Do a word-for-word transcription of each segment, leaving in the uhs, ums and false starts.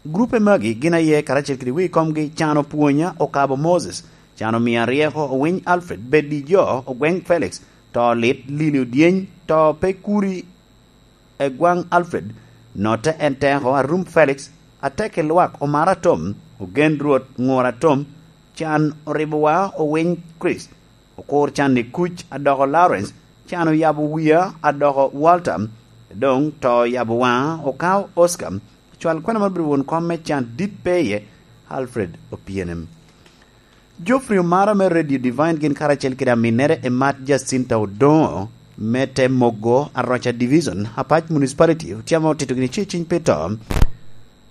Grupe magi gin aye karacel kede wegi komgi: Can Opwonya, Okabo Moses, Can Omia Ryeko, Owiny Alfred, Bed i Jo, Ogweng Felix, To Lit, Lili Odyeny, To Pe Kuri, Egwaŋ Alfred, Notte En Teko, Arum Felix, Atek i Lwak, Omar Atom, Ogen Rwot, Ŋur Atom, Can Oribowa, Owiny Chris, Okur Can i Kuc, Adoko Lawrence, Can Oyabo Wia, Adoko Walter, Doŋ To Oyabo Waŋa, Okao Oscar. Cwal kwena man obedo won kom me Can Dit Pe Iye, Alfred Opienem. Geoffrey Omara me Radio Divine gin karacel kede aminnere Emat Jacinta Odoŋo me te Mogo Aroca Division, Apac Municipality, otyamo tito gini ce ciny pi to,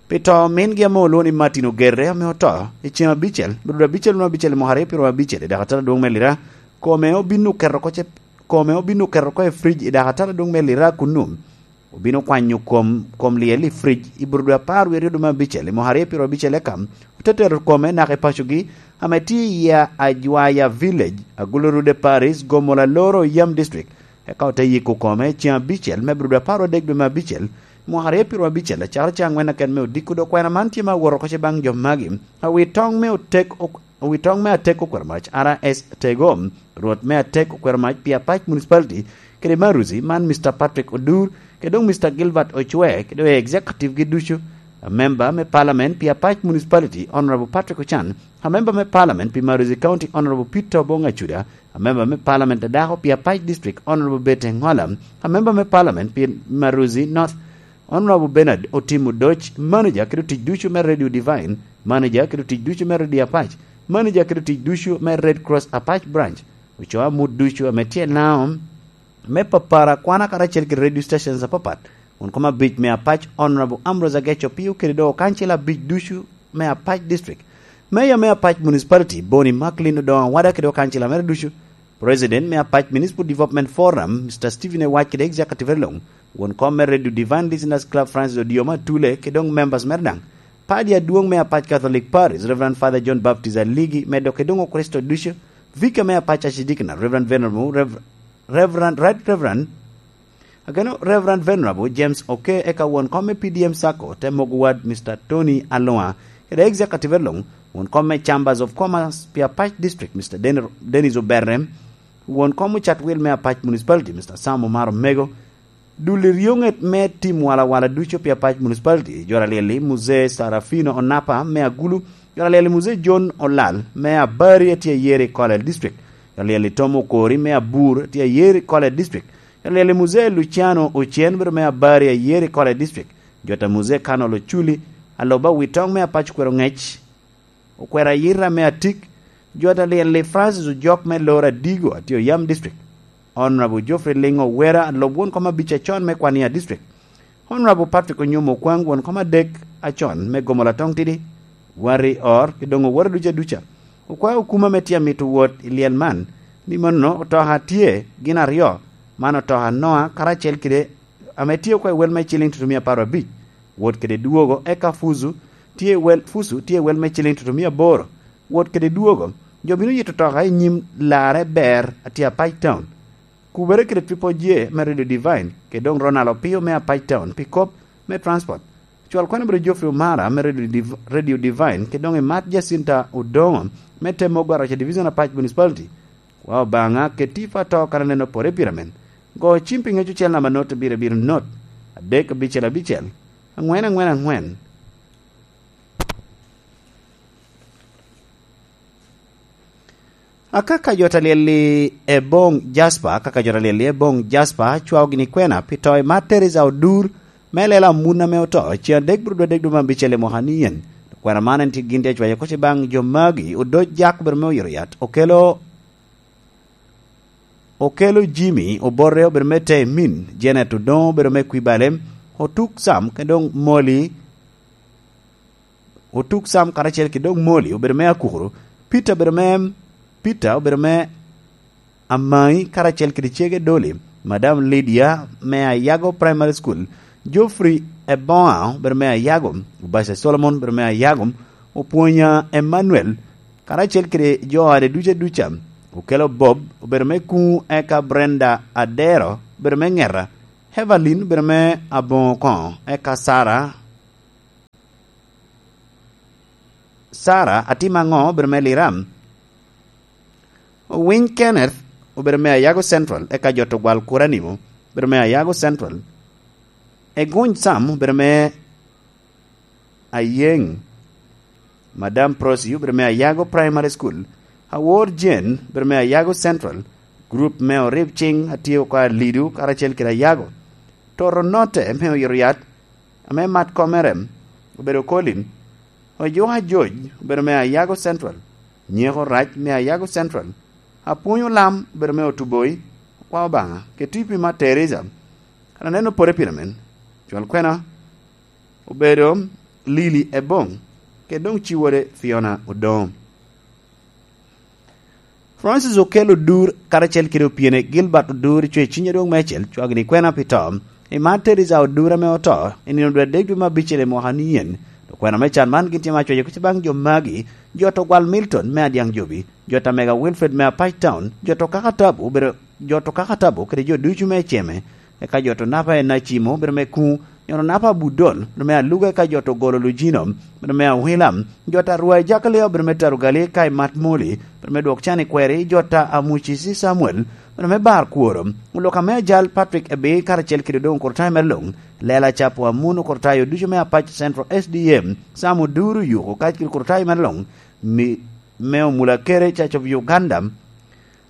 pi to mingi ame olwoŋo ni Martin Ogerre, ame oto i ceŋ abicel, bedo abicel wunu abicel i mwaka aryo pyeraryo abicel i dakatara adwoŋ me Lira. Kome obin oketo oko ce, kome obin oketo oko i fridge i dakatara adwoŋ me Lira kunnu. Obino kwanyo kom, kom lyel i fridge i Burudu apar wie aryo dwe me abicel i mwaka aryo pyeraryo abicel, eka ote tero kome naka i pacogi ame tye i Ajwaya Village, Agulu Rude Parish, Gomola Loro, Yam District. Eka ote yiko kome ceŋ abicel me Burudu apar adek dwe me abicel, mwaka aryo pyeraryo abicel, acakere ceŋ aŋwen aken me odiko. Dok kwena man tye me awot oko ce baŋ jo magi: Awitoŋ me otek, ok, Awitoŋ me Atek Okwero Mac, R S Tego, Rwot me Atek Okwero Mac pi Apac Municipality, kede Maruzi, man Mister Patrick Odur, kede doŋ Mister Gilbert Ocwe, kede doŋ executive gi ducu, amemba me Parliament pi Apac Municipality, Honorable Patrick Ochan, amemba me Parliament pi Maruzi County, Honorable Peter Obong Acuda, amemba me Parliament a dako pi Apac District, Honorable Betty Ngola, amemba me Parliament pi Maruzi North, Honorable Bernard Otim Odoc, manager kede otic ducu me Radio Divine, manager kede otic ducu me Radio Apac, manager kede otic ducu me Red Cross Apac Branch, ocoo amut ducu ame tye i Laŋo, me papara kwana karacel kede radio stations apapat, won kom abic me Apac, Honorable Ambrose Ageco Pio, kede doŋ okancila abic ducu me Apac District, Mayor me Apac Municipality, Boni Macklin Odoŋo Awada, kede okancila mere ducu, President me Apac Municipal Development Forum, Mister Stephen Ewac, kede executive Elong, won kom me Radio Divine Listeners Club, Francis Odioma Atule, kede doŋ members mere daŋ, padi adwoŋ me Apac Catholic Parish, Reverend Father John Baptist Aligi, medo kede doŋ Okricito ducu, Vicar me Apac Archdeaconry, Reverend Venerable Rev-, Reverend, Right Reverend, ageno Reverend Venerable James Oke, eka won kom me P D M Sacco, te mogo wad, Mister Tony Alua, kede executive Elong, won kom me Chambers of Commerce pi Apac District, Mister Den-, Dennis Oberre, won kom ocat wil me Apac Municipality, Mister Sam Omar Omego, dul i ryoŋet me tim walawala ducu pi Apac Municipality, jo alyel-li Muzee Sarafino Onapa me Agulu, jo alyel-li Muzee John Olal me Abari a tye ayer i Kole District, jo alyel-li Tom Okori me Abur a tye ayer i Kole District, jo alyel-li Muzee Luciano Ocen bedo me Abari ayer i Kole District, jo ta Muzee Kanol Oculi, aloba Witoŋ me Apac Okwero Ŋec, Okwero Ayira me Atik, jo ta lyel-li Francis Ojok me Loro Adigo a tye Oyam District, Honorable Geoffrey Lingo Wera, alob won kom abic acon me Kwania District, Honorable Patrick Onyomo Okwaŋ, won kom adek acon me Gomola Toŋtidi, Wari Or, kede doŋ owote ducu aduca. Okwao okuma ame tye amito wot i lyel man, ni mano otoka tye gin aryo, man otoka Noa karacel kede ame tye oko i wel me ciliŋ tutumia apar abic, wot kede dwogo, eka Fuzu tye i wel, Fuzu tye i wel me ciliŋ tutumia aboro, wot kede dwogo. Jo bino yito toka i nyim larre ber a tye Apac Town. Kubere kede Triple J me Radio Divine, kede doŋ Ronald Opio me Apac Town pi kop me transport. Cwal kwana bedo Geoffrey Omara me Radio Div-, Radio Divine, kede doŋ Emat Jacinta Odoŋo me te mogo Aroca Division Apac Municipality. Kwa Obaŋa, keti i to kan aneno pore pire men. Go cim pi ŋec ocel namba not abiro abiro not, adek abicel abicel, aŋwen aŋwen aŋwen. Akaka jo ta lyel-li Eboŋ Jasper, akaka jo ta lyel-li Eboŋ Jasper, cwao gini kwena pi to Emat Teresa Odur, me lela amun ame oto, ceŋ adek bro dwe adek dwe me abicel i mwaka ni yen. Kwena man en tye gin tye acwayo koc i baŋ jo magi, Odoc Jak bedo me oyito yat, Okelo, Okelo Jimmy Obote obedo me Temin, Janet Odoŋo obedo me Kwibalem, Otuk Sam, kede doŋ Moli, Otuk Sam karacel kede doŋ Moli obedo me Akukuru, Peter obedo me, Peter obedo me Amaŋi karacel kede cege Doli, Madam Lydia me Ayago Primary School, Geoffrey Eboŋa obedo me Ayago, Obaca Solomon obedo me Ayago, Opwonya Emmanuel, karacel kede jo ode ducu aduca, Okelo Bob obedo me Kuŋu, eka Brenda Adero obedo me Ŋeta, Evelyn obedo me Aboŋo Koŋo, eka Sara Sarah Atim Aŋo obedo me Liram. Owiny Kenneth obedo me Ayago Central, eka Jot Ogwal Kuranimo obedo me Ayago Central. Eguny Sam obedo me Ayeŋ. Madam Prosi obedo me Ayago Primary School. Awor Jane obedo me Ayago Central. Grup me Orib Ciŋ atye oko Alidu karacel kede Ayago. Toto Note me Oyito Yat, ame Mat Komerem obedo Colin. Ojuka Joj obedo me Ayago Central. Nyeko Rac me Ayago Central. Apwony Olam obedo me Otuboi, Okwa Obaŋa, kede Tipi Mat Teresa. Kan aneno pore pire men, cwal kwena obedo Lili Eboŋ, kede doŋ ciwode Fiona Odoŋo. Francis Okello Odur karacel kede opyene Gilbert Odur, cwe ciny adwoŋ meicel, cwagini kwena pi to. I Mat Teresa Odur ame oto i nino dwe adek dwe me abicel i mwaka ni yen. Okwena me can man gin tye ma cwaco kuc baŋ jo magi, Jot Ogwal Milton me Adyaŋ Jobi, Jot Amega Wilfred me Apac Town, Jot Okaka Tabu obedo, Jot Okaka Tabu kede jo ducu me Ceme, eka Jot Onapa en Acimo obedo me Kuŋ, Jot Onapa Budol obedo me Aluga, eka Jot Ogolo Lujino obedo me Awila, Jot Arwai Jakalia obedo me Tarugali, eka i Mat Moli obedo me Dwok Can i Kweri, Jot Amuci Ci Samuel obedo me Bar Kworo, Oluka me Ajal Patrick Ebi karacel kede doŋ Okurtayo mere luŋ, Lela Capo Amun Okurtayo ducu me Apac Central S D M, Sam Oduru Yuko kacel kede Okurtayo mere luŋ, mi, me Omula Kere Church of Uganda,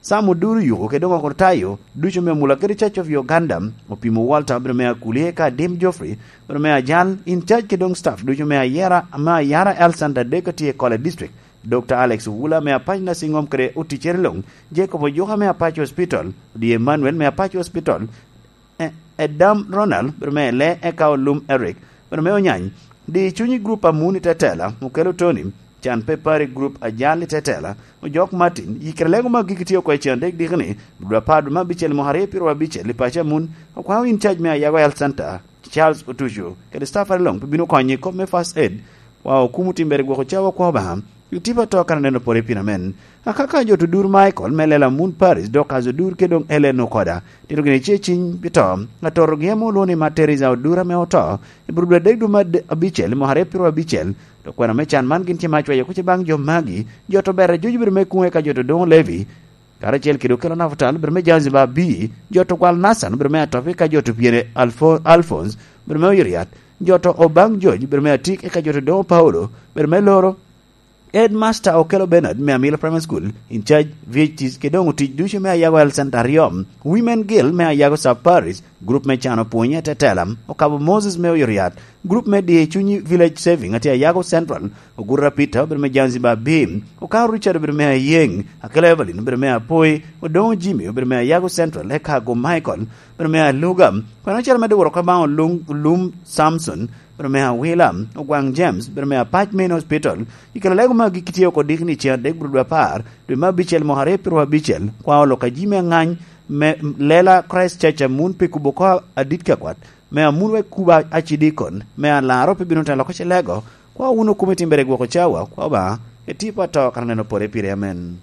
Sam Oduru Yuko kede doŋ Okurtayo ducu me Omula kede Church of Uganda, Opimo Walter obedo me Akuli, eka Adim Geoffrey obedo me Ajal, in charge kede doŋ staff ducu me Ayera, me Ayara Health Center adek atye i Kole District, Doctor Alex Owula me Apac Nursing Home kede oticere luŋ, Jacob Ojuka me Apac Hospital, Odi Emmanuel me Apac Hospital, E-, Edam Ronald, obedo me Ele, eka Olum Eric, obedo me Onyany. Di cunyi grup Amun i Tetela, Okelo Tony, Can Pe Pari grup Ajal i Tetela, Ojok Martin, yikere lego ma gigi tye oko i cen adek diki ni, dwe apar dwe me abicel mwaka aryo pyero abicel i paco Amun, okwao in charge me Ayago Health Center, Charles Otucu, kede staff are luŋ pe bino konyi i kop me first aid, wa okumo timbere gwoko cawa kwa Obaŋa. Itipa to kan aneno pore pien amen. Akaka jo to dur Michael me lela Mun Paris, dok azo dur ke doŋ Ellen Okoda. Tito gini ce ciny pi to. Atorogi ame olwoŋo ni Mat Teresa Odura me oto. I bur dwe adek dwe me ade-, abicel, mwaka aryo pyero abicel. Dok kwena me can man gin tye ma cwayo kuc baŋ jo magi. Jo to bere juju bedo me kuŋe ka jo to doŋo Levi. Karacel kede okelo Nafutal bedo me Zanzibar bi. Jo to gwal Nathan bedo me Atopi ka jo to pyere Alfo-, Alphonse bedo me Oyiriat. Jo to Obaŋ George bedo me Atik eka jo to doŋo Paulo bedo me Loro. Headmaster Okello Bernard me Amilo Primary School, in charge V H Ts, kede doŋ otic ducu me Ayago Health Center aryo, Women Guild me Ayago Sub Parish, group me cano pwony i Tetela, Okabo Moses me Oyoriat, group me Diyo Cunyi Village Saving atye Ayago Central, Ogurra Peter obedo me Zanzibar B, Okao Richard obedo me Ayeng, Akelo Evelyn obedo me Apoi, Odongo Jimmy obedo me Ayago Central, eka Ago Michael obedo me Aluga, kono acel medde woro ka baŋ Olung-, Olum Samson, bedo me Awila, Ogwaŋ James, bedo me Apac Main Hospital, i kelo lego magi kitye oko dikni cen adek bro dwe apar, dwe me abicel mwaka aryo pyero abicel, kwa olo ka ji me aŋany me lela Christ Church Amun pi kubo ko adit ka kwat, me Amun wek kubo acidikon, me alaro pe bino telo ko ce lego, kwa wun okumi timbere gwoko cawa, kwa Obaŋa, etipo ato kan aneno pore pire, amen.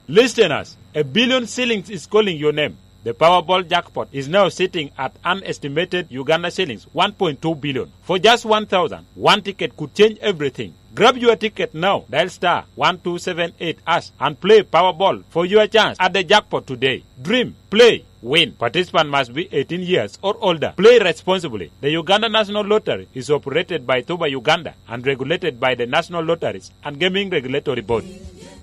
Listeners, a billion shillings is calling your name. The Powerball jackpot is now sitting at an estimated Uganda shillings one point two billion. For just one thousand, one ticket could change everything. Grab your ticket now. Dial star one two seven eight hash and play Powerball for your chance at the jackpot today. Dream, play, win. Participant must be eighteen years or older. Play responsibly. The Uganda National Lottery is operated by Tuba Uganda and regulated by the National Lotteries and Gaming Regulatory Board.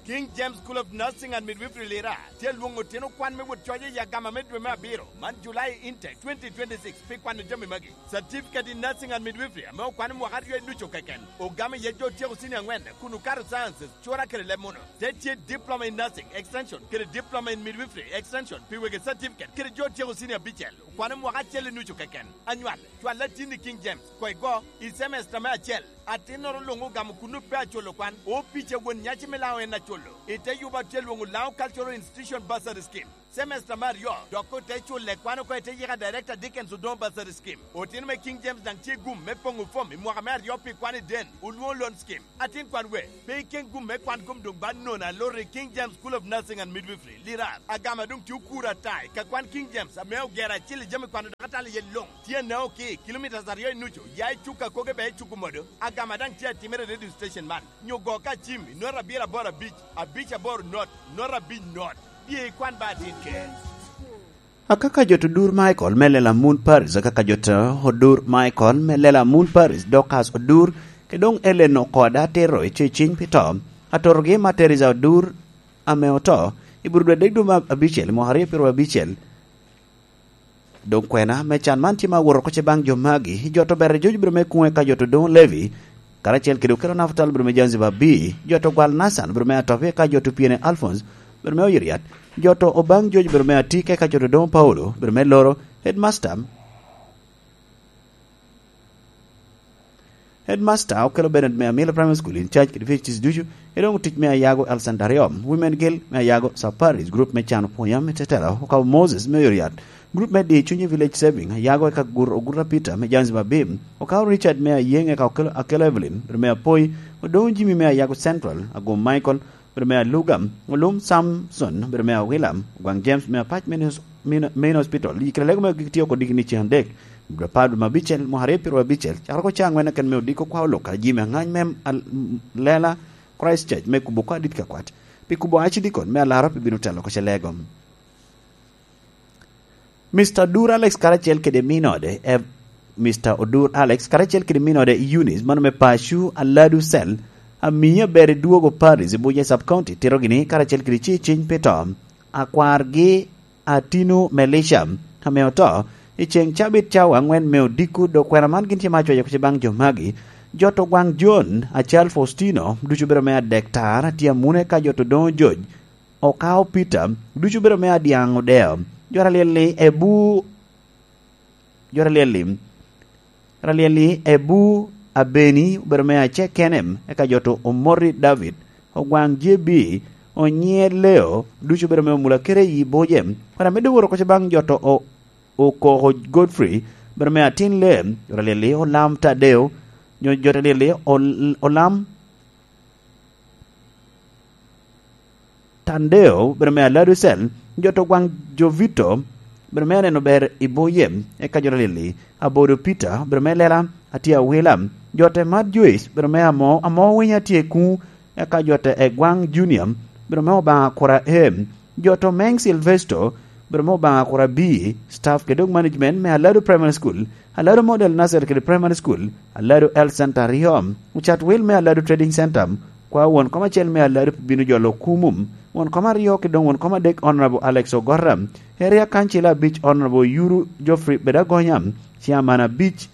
King James School of Nursing and Midwifery Lira tye lwoŋo otino kwan me wot coc i agama me dwe me abiro man, July intake twenty twenty-six, pi kwano jami magi: Certificate in Nursing and Midwifery ame okwano mwaka aryo ducu keken, ogamo iye jo otyeko cini aŋwen kun okato sciences, cura kede leb muno. Te tye Diploma in Nursing Extension kede Diploma in Midwifery Extension pi wegi certificate kede jo otyeko cini abicel, okwano mwaka acel i nucu keken. Anywal, cwal atin i King James, koŋ igo i semester me acel. Atinnoro luŋ ogamo kun pe acolo kwan, opic a won nyaci me Laŋo en acolo. I te yubo atye lwoŋo Laŋo Cultural Institution Bursary Scheme. Semester me aryo, dok ote culle kwan oko i te yika Director Dickens Odongo Bursary Scheme. Otino me King James daŋ tye gum me poŋo fom i mwaka me aryo pi kwan i den, olwoŋo loan scheme. Atin kwan we, pe iken gum me kwan gum doŋ ba nono aloro i King James School of Nursing and Midwifery, Lirar. Agama doŋ tye okuro ata i ka kwan King James ame ogero acil i jami kwano dok atalo iye luŋ. Tye anao ki kilomitas aryo i nucu, ya i cuk akoge ba i cuk omodo. Agama daŋ tye atimere i radio station man. Nyo go ka cim i not abiro aboro abic, abic aboro not, not abic not. Bye ikwan ba atin ken. Akaka jot odur Michael me lela Moon Paris, akaka jot odur Michael me lela Moon Paris, Dorcas Odur, ke doŋ Ellen Okoda Tero i ceciny pi to. Atorogi ma Teresa Odur ame oto i Burudwa dek dwe me abicel, mwaka aryo pyero abicel. Doŋ kwena me can man tye ma awot oko ce baŋ jo magi, jot ober i George biro me kuŋe ka jot odoŋo Levi, karacel kede okelo Nafutal biro me Zanzibar B, jot ogwal Nathan biro me Atopi ka jot opyene Alphonse biro me Oyiriat, jot obaŋ George biro me Atik ka jot odoŋo Paulo biro me Loro, headmaster. Headmaster okelo Bernard me Amila Primary School in charge kede P H Ds ducu, eromo tic me Ayago Alexander Yom, Women Guild me Ayago, Safaris Group me Can Opwonya me Tetela, okabo Moses me Oyoriat, Group me Di Cunye Village Saving, Ayago eka Gur Oguta Peter me Zanzibar Bim, okabo Richard me Ayeng eka okelo, akelo Evelyn, Reme Apoi, Odongo Jimmy me Ayago Central, Agum Michael, bedo me Aluga, Olum Samson, bedo me Awila, Ogwaŋ James me Apac Main Hos-, Main, Main Hospital, i kite lego me gik tye oko diki ni cen adek, bedo apar dwe me abicel, mwaka aryo pyero abicel, cakere oko ca angwen aken me odiko kwa olok kara jami aŋany me al-, lela Christ Church me kubo kwa dit ka kwat. Pi kubo acidikon me alaro pi bino telo oko ce lego. Mister Odur Alex karacel kede minode, e, Mister Odur Alex karacel kede minode Eunice, mano me Pacu Aladu Cell, amiye aber i dwogo Paris i Buja Sub County, tito gini karacel kede ci ciny pi to. Akwargi Atinu Melisha, ame oto i ceŋ cabit cawa angwen me odiko, dok kwena man gin tye ma acwayo kuc baŋ jo magi. Jot ogwaŋ John, Acal Faustino, ducu bedo me adek tar, tye amune ka jot odoŋo George, Okao Peter, ducu bedo me adyaŋ odeo. Jo aryel-li ebu, jo aryel-li, aryel-li ebu Abeni obedo me acek kene, eka jo to Omoti David, Ogwaŋ J B, Onyier Leo, ducu obedo me Omulakere i Boje. Kwena me doŋ woro koca baŋ jo to o-, Okoko Godfrey, obedo me atin Lem, jo aryel-li Olam Tadeo, nyo jo aryel-li Ol-, Olam Tandeo, bedo me Aladu Cell, jot ogwaŋ Jovito, bedo me aneno ber i Boye, eka jot alili, Abodo Peter, bedo me lela, atye awila, jot e Mad Joyce, bedo me amo, amo winyo atye kuŋ, eka jot e Gwaŋ Junior, bedo me Obaŋa kura em, jot Omeŋ Silvesto, bedo me Obaŋa kura bi, staff kede dog management me Aladu Primary School, Aladu Model Nursery kede Primary School, Aladu Health Center Riom, ocat wil me Aladu Trading Center, kwa won kom acel me Aladu pi bino jolo kumum, won kom aryo ki doŋ won kom adek Honorable Alex Ogorra, Area Council abic Honorable Yuru Geoffrey Bedagonya, Chairman abic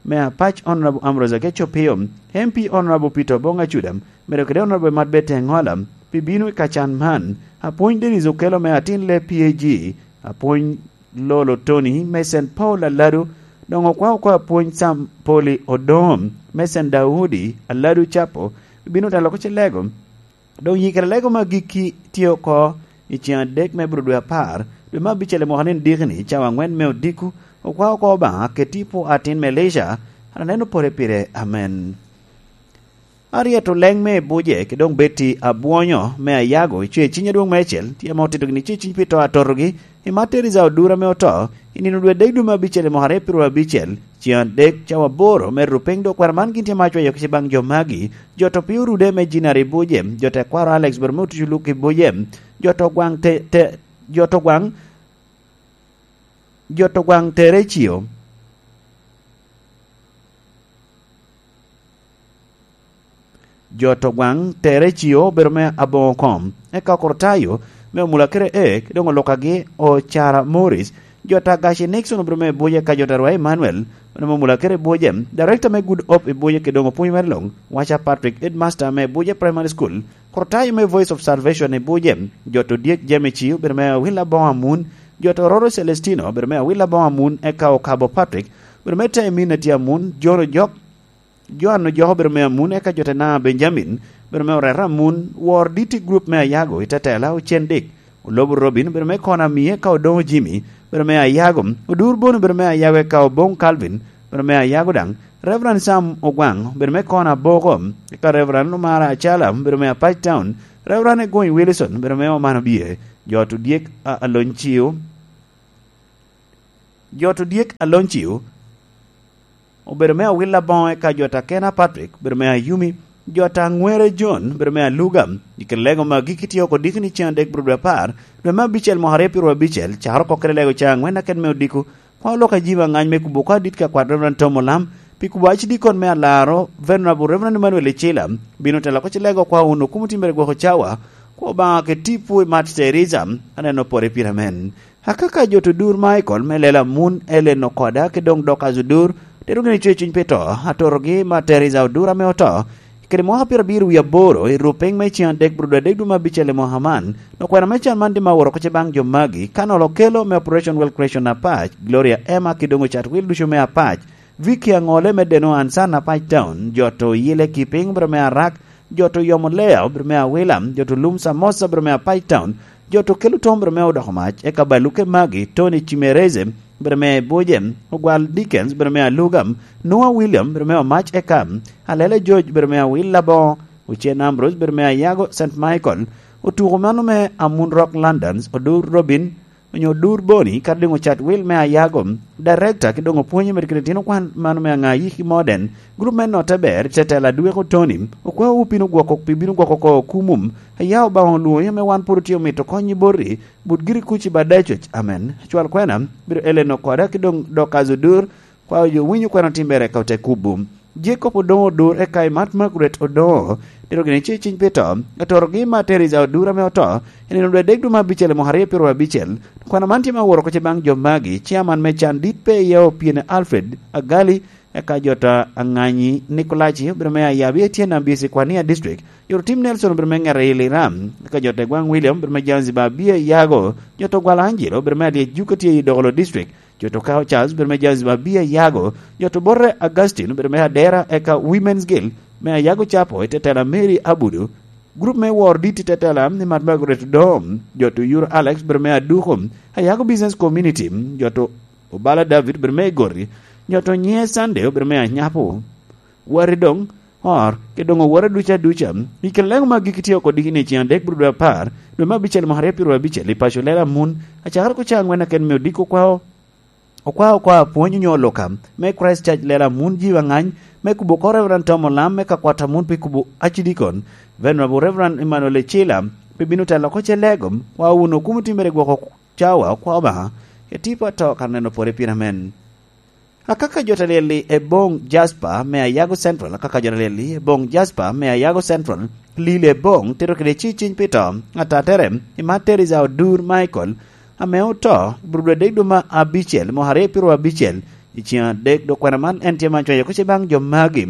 me Apac Honorable Ambrose Ageco Pio, M P Honorable Peter Obong Acuda, medo kede Honorable Mat Bete Ngola, pi bino i kacan man, Apwony Dennis Okello me atin le P A G, Apwony Lolo Tony me Saint Paul Aladu, doŋ okwa oko Apwony Sam Poli Odom me Saint Daudi Aladu Capo, bino telo ko ce lego. Doŋ yikere lego me agikki tye oko i ceŋ adek me bro dwe apar, dwe me abicel i mwaka ni diki-ni, cawa angwen me odiko, okwa oko Obaŋa, keti po atin me Elisha, an aneno pore pire. Amen. Aryeto leŋ me Ebuje, ki doŋ Betty Abwonyo me Ayago, i Ceciny adwoŋ me acel, tye ame otito gini Ceciny pi to atotogi, i Matt Teresa Odura ame oto, i nino dwe adek dwe me abicel i mwaka aryo pyeraryo abicel, ceŋ adek cawa aboro me rupiny, dok kwena man gin tye ma acweyo kica baŋ jo magi, jo to piny orude me Jinari Ebuje, jo tekwaro Alex Boromo Otucu Luk Ebuje, jo to gwaŋ te, te, jo to gwaŋ, jo to gwaŋ Terecio. Jo to gwaŋ Terecio obedo me aboŋo kom, eka Okurtayo me Omulakere E, doŋ olukagi Ocara Morris, jo to Agaci Nixon obedo me Ebuje, eka jo to Arwai Emmanuel, obedo me Omulakere Ebuje, Director me Good Hope Ebuje, ki doŋ opwony mere luŋ, Waca Patrick, Headmaster me Ebuje Primary School, Okurtayo me Voice of Salvation Ebuje, jo to Dyek Jemici obedo me Awila Boŋo Amun, jo to Roro Celestino obedo me Awila Boŋo Amun, eka Okabo Patrick obedo me Temin Ati Amun, John Ojok, Joan Ojok obedo me Amun, eka jo to Naa Benjamin obedo me Oreta Amun, Wor Diti Group me Ayago i Tetela, Ocen Dik, Olobo Robin, obedo me Kona Mie, ka Odongo Jimmy, obedo me Ayago, Odur Boni, obedo me Ayago, eka Obong Calvin, obedo me Ayago daŋ, Reverend Sam Ogwaŋ, obedo me Kona Boko, eka Reverend Omara Acala, obedo me Apac Town, Reverend Egony Wilson, obedo me Omana Bie, jo to dyek a Alony Ciu, jo to dyek Alony Ciu, obedo me Awil Aboŋo, eka jo ta Kena Patrick, obedo me Ayumi, jo ta Ŋwere John, obedo me Aluga. I kite lego magi kitye oko diki ni cen adek bro dwe apar, dwe me abicel mwaka aryo pyeraryo abicel, caro oko kede lego ca aŋwen aket me odiko, kwa olok ajima ngany me kubo kwa dit ka kwat Reverend Tom Olam, pi kubo acidikon me alaro, Venerable Reverend Emmanuel Icila, bino telo oko ci lego kwa wun okumo timbere gwoko cawa, kwa Obaŋa ke tipo i Mat Teresa, aneno pore pire amen. Akaka jo to dur Michael me lela mun Ellen Okoda ki doŋ Dorcas Odur, tero gini cwe cuny pi to, atorogi ma Teresa Odur ame oto, kede mwaka pyerabiro wie aboro i rupiny me cen adek bro dwe adek dwe me abicel i mwaka man, no kwena me can man tye ma oworo oko ce baŋ jo magi, ka nolo kelo me Operation Well Creation Apac, Gloria Emma ki doŋ ocat wil ducu me Apac, Vicky Aŋole me Deno Ansan Apac Town, jo to Yile Kiping bro me Arak, jo to Yomo Lea bro me Awila, jo to Lum Samosa bro me Apac Town, jo to Kelo Tom bro me Odoko Mac, eka Baluke Magi, Tony Cimereze bro me Buje, Ogwal Dickens bro me Alugam, Noah William bro me Omac, eka Alele George bro me Awil Labongo, Ocen Ambrose bro me Ayago Saint Michael, otuko mano me Amun Rock Londons, Odur Robin, onyo Odur Boni, kadi doŋ ocat wil me Ayago, Director, ki doŋ opwonye med kede tino kwan mano me Aŋayi ki Modern, grup me Notte Ber, Tetela Dweko Tony, okwawu pino gwoko, pi bino gwoko oko kumum, aya Obaŋa olwoŋi ame wan pwod otye omito kony i boti, but giri kuc i bada cwec. Amen. Acwal kwena, biro Ellen Okoda ki doŋ Dorcas Odur, kwa oyo winyo kwena timbere ka ote kubo. Jacob Odongo Odur eka i Mat Margaret Odongo, tero gini ce ciny pi to, atorogi ma Teresa Odur ame oto, i nino dwe adek dwe me abicel i mwaka aryo pyeraryo abicel. Kwena man tye ma woro oko ce baŋ jo magi, chairman me can dit pe iye Opiene Alfred Agali, eka jo ta Aŋanyi Nikolaci, obedo me Ayabi Etienne Ambisi Kwania District, jo to Tim Nelson obedo me Ŋere Iliram, eka jo ta Egwaŋ William obedo me Zanzibar Bia Yago, jo to Gwala Angelo obedo me Alyec Juka tye i Dokolo District, jo to Kao Charles obedo me Zanzibar Bia Yago, jo to Bote Augustine obedo me Adera, eka Women's Guild me Ayago Chapo i tetela Mary Abudu, grup me Wor Dit i tetela ni Mat Margaret Dom, jo to Yuro Alex obedo me Aduko, Ayago Business Community, jo to Obala David obedo me Igoti, jo to Nye Sunday obedo me Anyapo, wari doŋ or, ki doŋ oworo duca duca. I kine lego ma giki tye oko diki ni cen adek bro dwe apar, dwe me abicel mwaka aryo pyeraryo abicel i paco lela mun, acakere ko ca aŋwen aken me odiko kwao, okwao kwa apwony onyo oloka me Christ Church lela mun jiwa ngany, me kubo ko Reverend Tom Olam me ka kwata mun pi kubo acidikon, Venerable Reverend Emmanuel Ecila, pi bino telo ko ce lego, kwa wun okumo timbere gwoko cawa kwa Obaŋa, ke tipo ato ka neno pore pire amen. Akaka jo ta lyel-li Ebong Jasper me Ayago Central, akaka jo ta lyel-li Ebong Jasper me Ayago Central, Lili Ebong, tito kede ci ciny pi to, atatere, i Mat Teresa Odur Michael, ame oto, i bur dwe adek dwe me abicel, mwaka aryo pyeraryo abicel, i cen adek, dok kwena man en tye ma cwayo kuc i baŋ jo magi.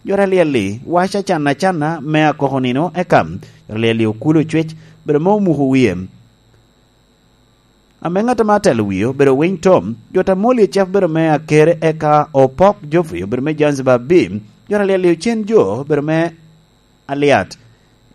Jo ta lyel-li, wac acan acanna me akoko nino, eka, jo ta lyel-li okulo cwec, bedo ma omuko wie. Ame ŋat ame atelo wie obedo Winy Tom, jo ta Moli Ecep obedo me Akere, eka Opok Geoffrey obedo me Zanzibar B, jo ta lyel-li Ocen Jo obedo me Aliat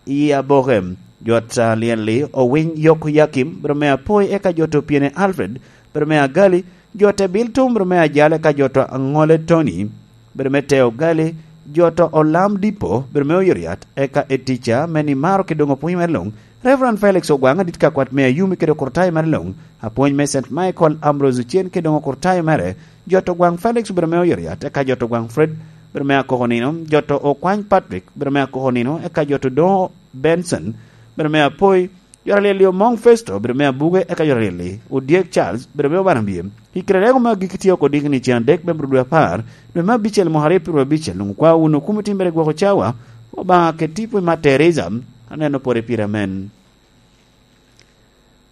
i Aboke, jo ta lyel-li Owiny Yok Yakim obedo me Apoi, eka jo ta Opiene Alfred obedo me Agali, jo ta Ebil Tom obedo me Ajal, eka jo ta Aŋole Tony obedo me Teo Gali, jo ta Olam Dipo obedo me Oyoriat, eka Etica me Nimaro ki doŋ opwony mere luŋ, Reverend Felix Ogwaŋ adit ka kwat me Ayumi kede okurtayo mere luŋ, apwony me Saint Michael Ambrose Ocen ki doŋ okurtayo mere, jo ta Ogwaŋ Felix obedo me Oyoriat, eka jo ta Ogwaŋ Fred obedo me akoko nino, jo ta Okwany Patrick obedo me akoko nino, eka jo ta Odoŋo Benson obedo me Apoi, jo ta lyel-li Omoŋ Festo obedo me Abuge, eka jo ta lyel-li Odyek Charles obedo me Obanabie. I kite lego me agikki tye oko diki ni cen adek me bur dwe apar, dwe me abicel mwaka aryo pyeraryo abicel, luŋ okwa wun okumo timbere gwoko cawa, Obaŋa ket tipo i Mat Teresa, aneno pore pire amen.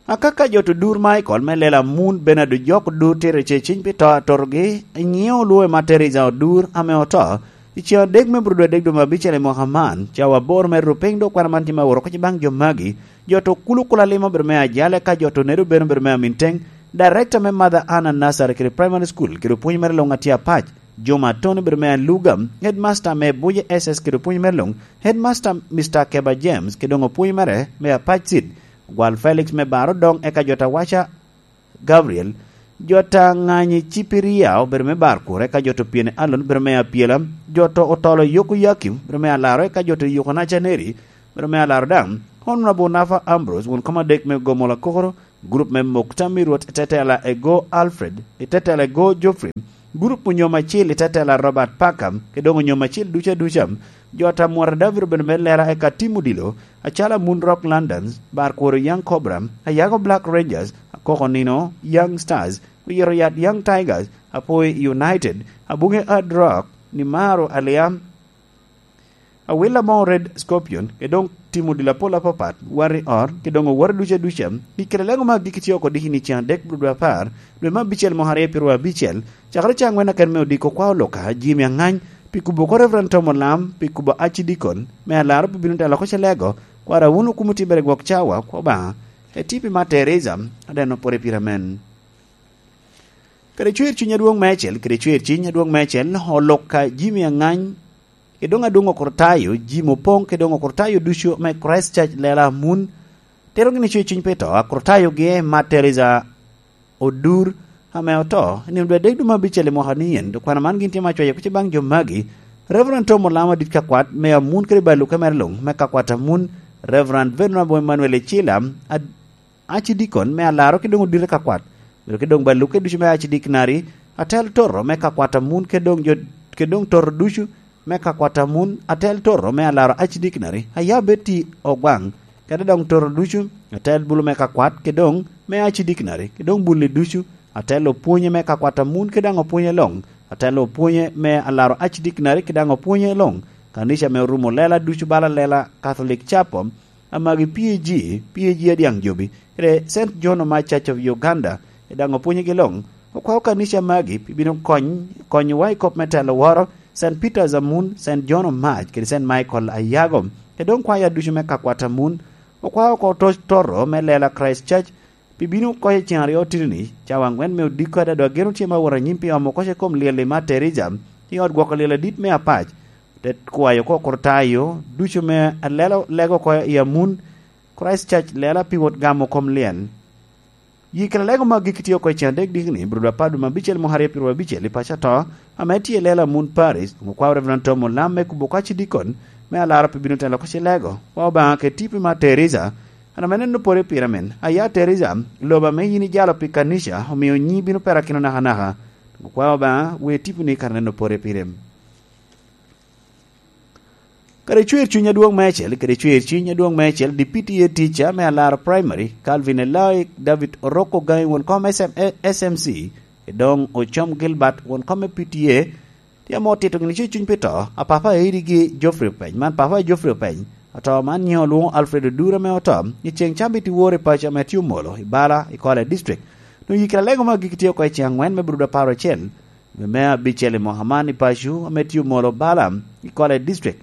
Akaka jo to Dur Michael me lela mun Bernard Ojok Dur tito ce ciny pi to atotogi, iŋeo olwo i Mat Teresa Odur ame oto, i cen adek me bur dwe adek dwe me abicel i mwaka man, cawa aboro me rupiny dok kwana man tye ma woro oko ci baŋ jo magi, jo to Kulu Kulalima obedo me Ajale, ka jo to Nedo Beno obedo me Aminteng, Director me Mother Anna Nursery kede Primary School kede opwony mere luŋ atye apac, Juma Atoni obedo me Aluga, Headmaster me Buje S S kede opwony mere luŋ, Headmaster Mister Keba James kede doŋ opwony mere me Apac Seed, Gwal Felix me Bar Odoŋ, eka jo ta Waca Gabriel, jo ta Ŋanyi Cipiria obedo me Bar Kur, eka jo to Pyene Alon obedo me Apyela, jo to Otolo Yoko Yakim obedo me Alaro, eka jo to Yoko Nacaneri obedo me Alaro daŋ. Honorable Nafa Ambrose, won kom adek me Gomola Kokoro, gurup me Mukta me Rwot i tetela ego Alfred, i tetela ego Geoffrey, gurup onyom acil i tetela Robert Parker, ke doŋ onyom acil duca duca. Jo ta Mwara David obedo me Lera eka Tim Odilo, acalo Moon Rock Londons, Bar Kuro Young Cobra, Ayago Black Rangers, Akoko Nino Young Stars, Oyito Yat Young Tigers, Apoi United, Abunge Hard Rock, Nimaro Aliam, Awila mo Red Scorpion, ke doŋ Tim Odilo apol apapat, Wari Or, ke doŋ Owor duca duca. I kite lego ma agikki tye oko diki ni can dek bro dwe apar, dwe me abicel mwaka aryo pyeraryo abicel, cakere ca angwen aken me odiko kwa oloka, Jimmy Angany, pi kubo ko Reverend Tom Olam, pi kubo acidikon, me alaro pi bino telo ko celego, kwara wun okumo tibere gwok cawa, kwa Obaŋa, etipi ma Teresa, adeno pore pire amen. Kede cwer cwiny adwoŋ meicel, kede cwer cwiny adwoŋ meicel, oloka Jimmy Angany, ke doŋ adwoŋ okurtayo, Jimmy Opoŋ, ke doŋ okurtayo ducu me Christ Church Lela Amun, tero gini cwer cwiny pe to, akurtayo gi ma Teresa Odur, ame oto, i nino dwe adek dwe me abicel i mwaka ni yen, dok kwana man gin tye ma cwayo kuc baŋ jo magi, Reverend Tom Olamo adit kakwat, me Amun kede Baluke mere luŋ, me kakwat Amun, Reverend Venerable Emmanuel Ecila, ad-, acidikon me alaro ki doŋ odite kakwat, bedo ki doŋ Baluke ducu me acidikinari, atel toto me kakwat Amun ke doŋ jo, ke doŋ toto ducu me kakwat Amun, atel toto me alaro acidikinari, Ayabeti Ogwaŋ, kede doŋ toto ducu, atel bulu me kakwat ke doŋ me acidikinari, ke doŋ bulli ducu, atel opwonye me kakwat Amun ke daŋ opwonye loŋ, atel opwonye me alaro acidikinari ke daŋ opwonye loŋ, kanica me orumo lela ducu bala lela Catholic Chapel, amagi P A G, P A G adyaŋ jobi, kede Saint John Omac Church of Uganda, e daŋ opwonyogi loŋ. Okwao kanica magi pi bino kony, konyowa i kop me telo woro, Saint Peter's Amun, Saint John Omac, kede Saint Michael Ayago, kede doŋ kwaya ducu me kakwat Amun. Okwao oko to-, toto me lela Christ Church, pi bino oko i ceŋ aryo otino-ni, cawa aŋwen me odiko adada geno tye ma wot anyim pi omo oko i kom lyel i Mater Teresa, i ot gwoko lyel adit me Apac. Te kwayo oko kurtayo ducu me alelo lego oko i Amun, Christ Church lela pi wot gamo kom lyel. Yi kede lego ma gik tye oko i ceŋ adek diki ni, bro dwe apar dwe me abicel mwaka aryo pyeraryo abicel i paco ato, ame tye i lela Amun Paris, okwao Reverend Tom Olam me kubo kwaci dikon, me alaro pi bino telo kwaci lego, wa Obaŋa ke tipi ma Teresa, an ame neno pore pire men, aya Teresa, lobo ame yin ijalo pi kanica, omio nyi bino perakino nakanaka. Okwao Obaŋa, we tiponi kara neno pore pire. Kede cwer cuny adwoŋ meicel, kede cwer cuny adwoŋ meicel, D P T A teacher me Alaro Primary, Calvin Eloi David Oroko Gangi, won kom S M, S M C, edoŋ Ocom Gilbert, won kom me P T A, tye ame otito gini cwer cuny pi to, a papa Eddie gi Geoffrey Openy, man papa Geoffrey Openy, oto man nyiŋe olwoŋo Alfred Odura ame oto, i ceŋ cambit i wor i paco ame tye omolo, i Bala, i Kole District. Nwoŋo yikere alego ma gik tye oko i ceŋ angwen me bro dwe apar acel, dwe me abicel i mwaka man i paco ame tye omolo Bala, i Kole District.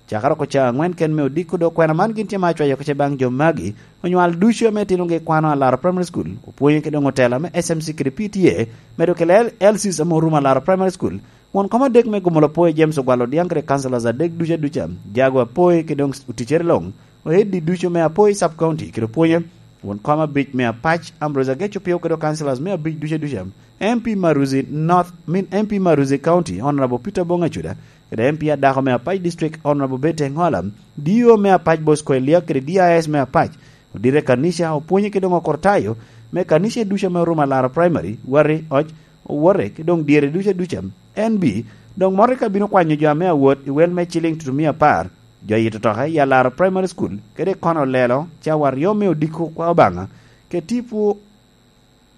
Cakere oko ca angwen ken me odiko dok kwena man gin tye ma acwayo oko ce baŋ jo magi, onywal ducu ame tinogi kwano Alaro Primary School, opwonyo kede doŋ otela me S M C kede P T A, medo kede L-, L Cs ame orumo Alaro Primary School, won kom adek me Gomolo Poi James Ogwal Odiaŋ kede councillors adek ducu aduca, Jago Apoi kede doŋ oticere loŋ, o Eddie ducu me Apoi Sub County kede opwonye, won kom abic me Apac Ambrose Ageco Pio kede councillors me abic ducu aduca, M P Maruzi North, min M P Maruzi County, Honorable Peter Bong Acuda, kede M P adako me Apac District, Honorable Betty Engola, D O me Apac Bosco Elia, kede D I S me Apac, odite kanica, opwonye kede doŋ okortayo me kanica ducu ame orumo Alaro Primary, Wari, Oc, Owote, kede doŋ dyere ducu aduca. N B, doŋ mote ka bino kwanyo jo ame awot i wel me ciliŋ tutumia apar, jo aye totoka i Alaro Primary School, kede i kono olelo, cawa aryo me odiko kwa Obaŋa, ke tipo,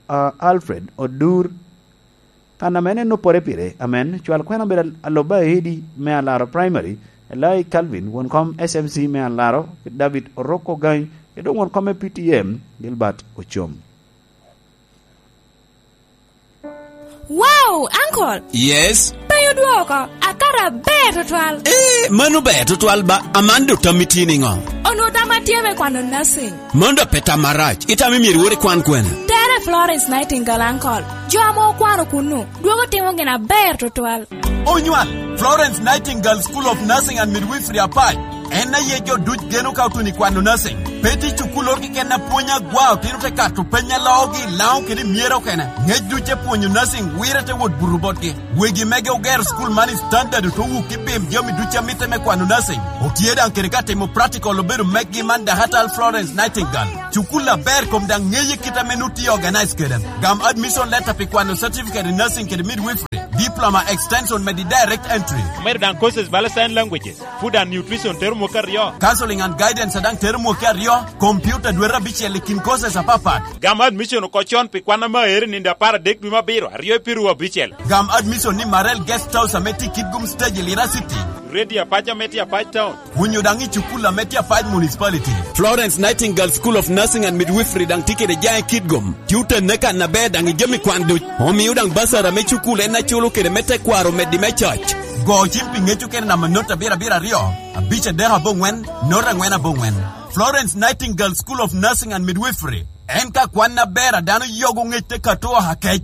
ah, Alfred Odur, kan ame en opore pire, amen, cwal kwena obedo al-, Aloba Edi me Alaro Primary, Elai Calvin, won kom S M C me Alaro, David Oroko Gany, kede doŋ won kom me P T M, Gilbert Ocom. Wow, uncle! Yes? Pe odwoko, akato aber tutwal. Eh, mano ber tutwal ba, aman do tammi tye niŋo? Onwo tamma tye me kwano nursing. Mano da pe tam marac. Itamo myero iwor ikwan kwene? Tere Florence Nightingale, uncle. Jo ame okwano kunnu, dwogo timo gin aber tutwal. Onywal, Florence Nightingale School of Nursing and Midwifery Apac. En aye jo duc geno ka otuno i kwano nursing. Eti cukul lor keken apwony agwa, otino te kato peny aloogi i Laŋo kede i Myero okene. Ŋec duc te pwonyo nursing, wire te wot buto botgi. Wegi mege ogero cukul man i standard oto wuk i bim jami duc a mitte me kwano nursing. Otye daŋ kede ka timo practical obedo meggi man Dakatal Florence Nightingale. Cukul aber kom daŋ ŋeye kit ame nu tye organize kede. Gam admission letter pi kwano certificate in nursing kede midwifery, diploma extension medi direct entry. Omedo daŋ courses bala sign languages, food and nutrition tero mwaka aryo. Counseling and guidance a daŋ tero mwaka aryo, computer dwete abicel i kin courses apapat. Gam admission oko con pi kwan ame aero i nino apar adek dwe me abiro, aryo i piru abicel. Gam admission ni Marel Guest House ame tye i Kitgum Stage i Lira City. Radio Apac ame tye Apac Town. Onyo daŋ i cukul ame tye Apac Municipality. Florence Nightingale School of Nursing and Midwifery daŋ tye kede jaŋ i Kitgum. Tye otenne kan aber daŋ i jami kwan duc. Omio daŋ basar ame cukul en aculo kede me tekwaro meddi me coc. Go cim pi ŋec okene namba not abiro abiro aryo, abic adek aboŋwen, not angwen aboŋwen. Florence Nightingale School of Nursing and Midwifery. En ka kwan aber a dano yogo ŋec te kato oha kec.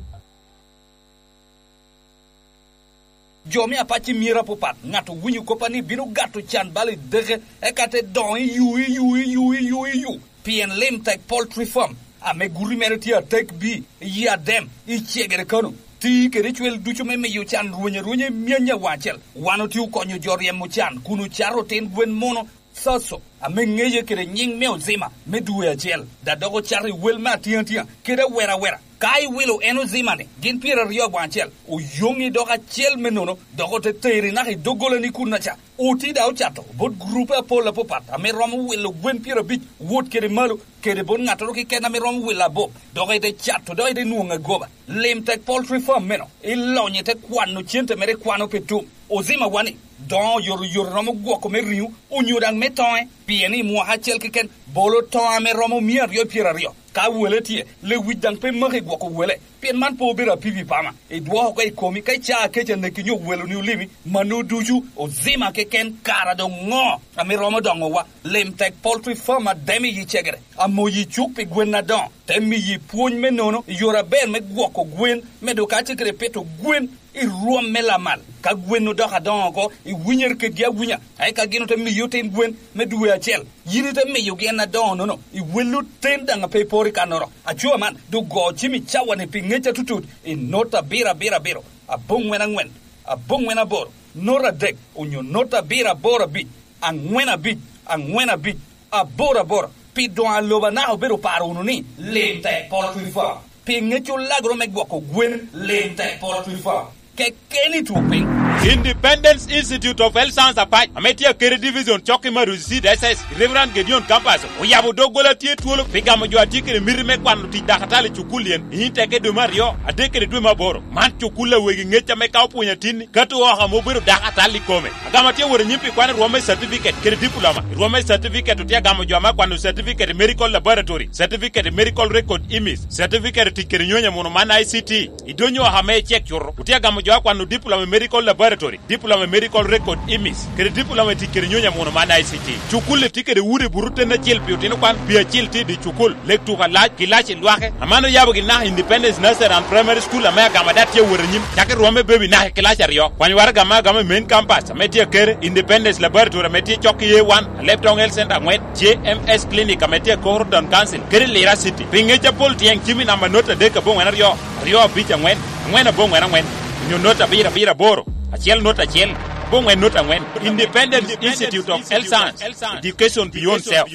Jo me apac i myero apapat, ŋat owinyo koppa ni bino gato can bal i deke, eka te doŋo i yu, i yu, i yu, i yu, i yu. Pien Lim Tek Poultry Farm, ame guti mere tye atek bi, i Adem, i Cegere Kano, ti kede cwel ducu me miyo can rweny arwenya i myanya waŋ acel. Wan otye okonyo jo ryemo can kun ocato otin gwen muno, Soso, ame ŋeye kede nyiŋ me Ozima me dwe acel, da dok ocato i wel me atiŋatia kede awera awera. Ka iwilo en Ozima-ni, gin pyeraryo aboŋo acel, oyoŋi dok acel me nono, dok ote teri naka i doggolani kunnaca. Oti da ocato bot gurupe apol apapat ame romo wilo gwen pyerabic, wot kede malo, kede bot ŋattoro keken ame romo wilo abok, dok ite cato, dok ite nwoŋo agoba. Lim Tek Poultry Farm meno, ilonyo ite kwano cente mere ikwano pi tum. Ozima wani, doŋo oyotoyot romo gwoko me riŋo, onyo daŋ me toŋe, pien i mwaka acel keken, bolo toŋo ame romo mia aryo pyeraryo. Ka wele tye, lewic daŋ pe maki gwoko wele, pien man pe obedo apipi pama. Idwoko oko i komi, ka icaa kec aneki nyo weloni olimi, mano ducu, Ozima keken, kara doŋ ŋo ame romo doŋowa? Lim Tek Poultry Farm Adem i Cegere, amoyi cuk pi gwen adoŋo, te miyi pwony me nono i yore aber me gwoko gwen, medo kacel kede pito gwen i rwom me lamal. Ka gwen odoko adoŋo oko, iwinyere kedgi awinya, eka gin ote miyi otin gwen me dwe acel. Yin ite miyogi en adoŋo-nono, iwello ten daŋ a pe iporo i kannoro. Aco man, doŋ go cim i cawa-ni pi ŋec atutut, i not abiro abiro abiro, aboŋwen aŋwen, aboŋwen aboro, not adek, onyo not abiro aboro abic, aŋwen abic, aŋwen abic, aboro aboro. Pi doŋ aloba naka obedo paro wunu ni, Lim Tek Poultry Farm, pi ŋec olagro me gwoko gwen, Lim Tek Poultry Farm. Kekeni two piny. Independence Institute of Health Science Apac, ame tye Akere Division, cok i Marusi Seed S S, Reverend Gideon Campus, oyabo doggola tye twolo pi gamo jo a tye kede miti me kwano tic dakatali i cukul yen, i nyim teke dwe me aryo, adek kede dwe me aboro. Man cukul a wegi ŋec ame ka opwonyo atinni, kato oko ame obedo dakatali i kome. Agamo tye wot anyim pi kwano rwom me certificate kede diploma. I rwom me certificate otye agamo jo ame akwano certificate i medical laboratory, certificate i medical record image, certificate i tic kede nyonyo muno man I C T. I donyo oko ame icek cuto, otye agamo jo akwano diploma i medical laboratory, diploma i medical record image, kede diploma i tic kede nyonyo muno man I C T. Cukul-li tye kede udi buto ten acel pi otino kwan, pi acel tye i dye cukul, lek tuko alac, kilaci lwake. Aman oyabo gin naka Independence Nursery and Primary School ame agamo ada tye awot anyim, cakki rwom me baby naka i kilaci aryo. Kwany waraga ame agamo i main campus ame tye Akere, Independence Laboratory ame tye cok i A one, Alebtong Health Center aŋwen, J M S Clinic ame tye i Koro Town Council, kede Lira City. Pi ŋec apol tyeŋ cim i namba not adek aboŋwen aryo, aryo abic aŋwen, aŋwen aboŋwen aŋwen, onyo not abiro abiro aboro, acel not acel, aboŋwen not aŋwen. Independence Institute of Health Science, Education Beyond Self.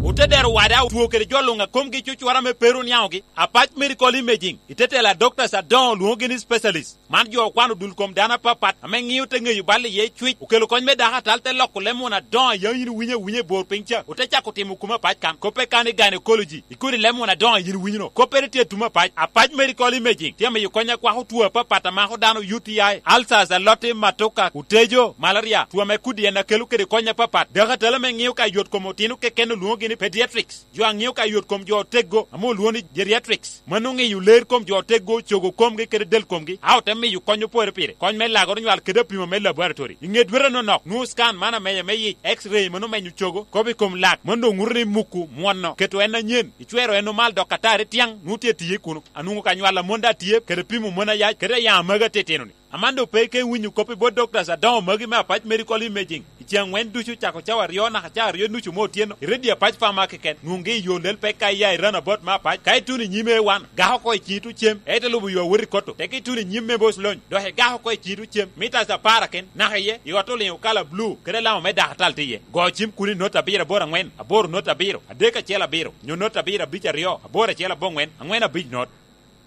Ote dero wada otwo kede jo luŋ a komgi cucwara me pero niaŋogi, Apac Medical Imaging, i te tela doctors adoŋo lwoŋogi ni specialist. Man jo okwano dul kom dano apapat ame ŋio te ŋeyo bal iye cwic, okelo kony me dako atal te loko leb muno adoŋo a yam yin iwinyo awinya i bor piny ca, ote cako timo kome apac kan. Koppe kan i gynecology, i kodi leb muno adoŋo a yin iwinyo no. Koppere tye atum apac. Apac Medical Imaging tye amiyo kony akwako two apapat a mako dano, U T I, ulcers, aloti, matoka, otejo, malaria, two ame kodi en akelo kede kony apapat. Dako atal ame ŋio ka yot kom otino keken olwoŋogi ni pediatrics. Jo a ŋio ka yot kom jo oteggo ame olwoŋo ni geriatrics, mano ŋeyo ler kom jo oteggo, cogo komgi kede del komgi, a ote miyo kony opore pire. Kony me lagoro nywal kede apimo me laboratory. I ŋe dwete nonok, nwoŋo scan man amenya me yic, X-ray mano menyo cogo, kobo i kom lak, mano doŋ ŋuto ni muku, mwono, keto en anyen, icwero en omal dok atari tyaŋ, nwoŋo tye tiye kuno. Anwoŋo ka nywal a mon daŋ tye, kede pimo mon ayac, kede ayaŋ amagi atitino-ni. Aman doŋ pe ike winyo kop i bot doctors adoŋo magi me Apac Medical Imaging. I ceŋ aŋwen ducu, cako cawa aryo naka cawa aryo nucu me otyeno, i redio Apac Farm keken, nwoŋgi i yo lel pek ka iya i Roundabout me Apac, ka ituno i nyim A one, gako oko i ciŋi tuŋ cem, ite lubo yo awot i Koto, teke ituno i nyim me Boc Lony, dok igako oko i ciŋi tuŋ cem, mitas apar aken, naka iye, i ot oliŋo kala bulu, kede alama me dako atal tye iye. Go cim kun i noti abiro aboro aŋwen, aboro noti abiro, adek acel abiro, nyo noti abiro abic aryo, aboro acel aboŋwen, aŋwen abic not.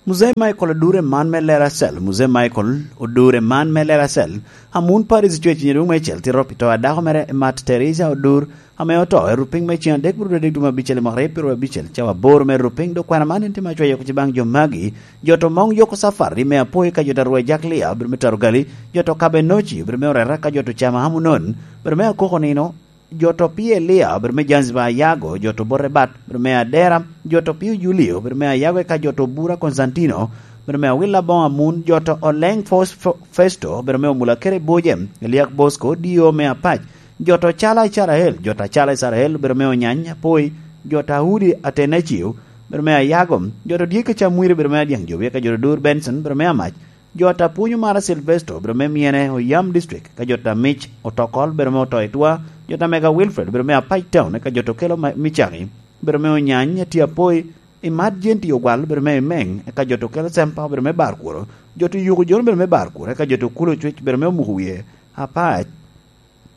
Muzei Michael Odure man me Leracel, Muzei Michael Odure man me Leracel, amun Paris Church i nyedoŋ me cel tito pi to a dako mere Mat Teresa Odur, ame oto i rupiny me ceŋ adek bro dek dwe me abicel i mwaka aryo pyero abicel, cawa aboro me rupiny, dok kwena man en tye ma cwayo oko baŋ jo magi, jo to moŋ yoko safari me Apoi ka jo to arwa i Jaklia, bro me Tarogali, jo to Kabenoci, bro me Orera ka jo to Cama Amunon, bro me Akoko Nino, jo to Pielia, bro me Zanzibar Ayago, jo to Borebat, bro me Adera, jo to Pio Julio, bro me Ayago eka jo to Bura Konstantino, bro me Awila Boŋ Amun, jo to Oleng Fos-, Fo-, Festo, bro me Omula Kere Boje, Eliak Bosco, D O me Apac, jo to Cala Icarael, jo to Cala Icarael, bro me Onyany Apoi, jo to Audi Atenacio, bro me Ayago, jo to Dyeke Camwiri, bro me Adyaŋ Jowi, eka jo to Dur Benson, bro me Amac, jo ta Pwonyo Mara Silvesto, bro me Myene, Oyam District, ka jo ta Mic Otokol, bro me Otoitwa, jo ta Mega Wilfred, bro me Apac Town, ka jo to Kelo Ma-, Micaki, bro me Onyany, Ati Apoi, Imat Jenti Ogwal, bro me Imeng, ka jo to Kelo Sempa, bro me Barkuro, jo to Yuko Jon, bro me Barkuro, ka jo to Kulo Cwec, bro me Omuko Wie, Apac,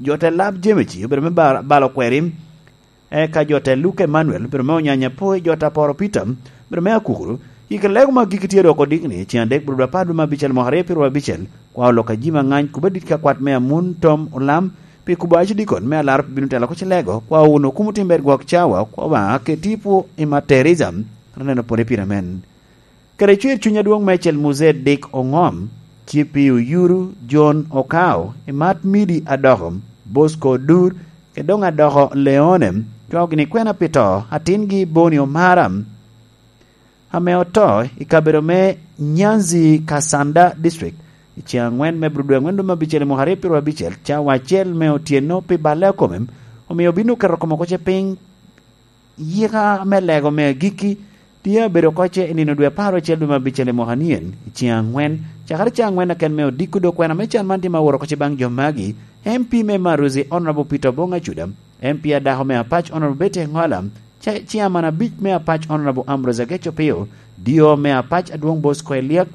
jo ta Lab Jemeci, bro me Bar-, Balo Kweri, Eka jo te Luka Emanuel, bro me Onyanya Apoi, jo ta Poro Peter, bro me Akukuru, i kin lego ma gigi tye dok odikni, ceŋ adek bro apar dwe me abicel mwaka aryo pyero abicel, kwa olok ajima ngany kuba dit ka kwat me Amun Tom Olam, pi kubo acidikon me alaro pi bino telo ko cilego, kwa owuno kumo timber gwok cawa, kwa Obaŋa ke tipo i Matt Teresa, aneno pwode pire men. Kede cwer cuny adwoŋ meicel Muzee Dick Oŋom, Cipi Oyuru, John Okao, Imat Midi Adoko, Bosco Odur, kede doŋ Adoko Leone, cwao gini kwena pi to atingi Boni Omara, ame oto i kabedo me Nyanzi Kasanda District, i ceŋ aŋwen me bro dwe aŋwen dwe me abicel i mwaka aryo pyero abicel, cawa acel me otyeno pi balle a kome, omio obino keto kome oko ce piny, Yika me lego me agikki tye abedo oko ce i nino dwe apar ocel dwe me abicel i mwaka nien, i ceŋ aŋwen, cakere ceŋ aŋwen aken me odiko dok kwena me can man tye ma woro oko ce baŋ jo magi, M P me Maruzi Honorable Peter Obong Acuda, M P adako me Apac Honorable Betty Engola, ce-, Chairman abic me Apac Honorable Ambrose Ageco Pio, D O me Apac Adwoŋ Bosco Eliak,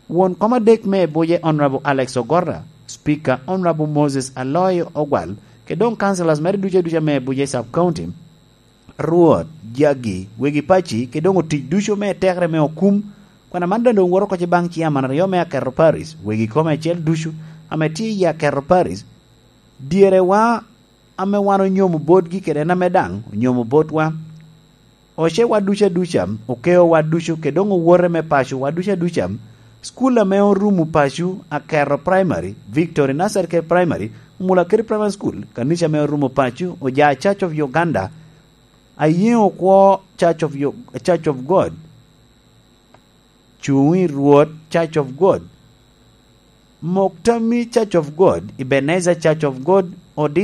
Won kom adek me Ebuje Honorable Alex Ogorra, Speaker Honorable Moses Aloyo Ogwal, kede doŋ councillors mere ducu aduca me Ebuje Sub County, Rwot, jagi, wegi paci, kede doŋ otic ducu me tekere me okum, kwena man doŋ doŋ woto oko ce baŋ ciaman aryo me Aketo Parish, wegi kome acel ducu, ame tye i Aketo Parish, dyerewa ame wan onyomo botgi kede en ame daŋ onyomo botwa. Ocewa ducu aduca, okeowa ducu, kede doŋ owote me pacowa ducu aduca, cukul ame orumo paco, Aketo Primary, Victory Nursery kede Primary, Omulakeri Primary School, kanica ame orumo paco, Ojaa Church of Uganda, Ayeŋo Kwo Church of Yo-, Church of God, Cuŋ i Rwot Church of God, Mok Tammi Church of God, Ebenezer Church of God, Odi